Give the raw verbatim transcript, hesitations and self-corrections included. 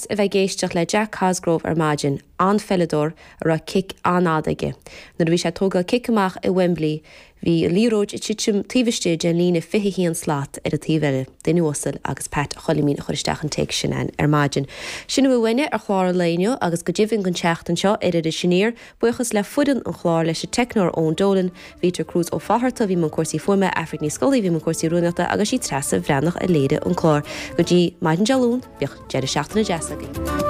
deas a bheith ag éisteacht le Jack Cosgrove ar maidin, an-pheileadóir a raibh cic an-fhada aige. Nuair a bhí sé ag tógáil cic amach i Wembley, bhí an liathróid ag titim taobh istigh den líne fiche haon slat ar an taobh eile, duine uasal agus Pat Choilimín a chuir isteach an téacs sin ar maidin. Sin a bhfuil uainne ar chlár an lae inniu agus go deimhin don tseachtain seo ar Iris Aniar, buíochas le foireann an chláir leis an teicneoir Eoin Dolan, Peter Cruz Ó Fátharta a bhí i mbun cúrsaí fuaime, Aifric Ní Scolaí a bhí i mbun cúrsaí rúnaíochta agus sí Treasa Bhreathnach a léirigh an clár. Go dtí maidin Dé Luain, bíodh deireadh seachtaine deas agaibh.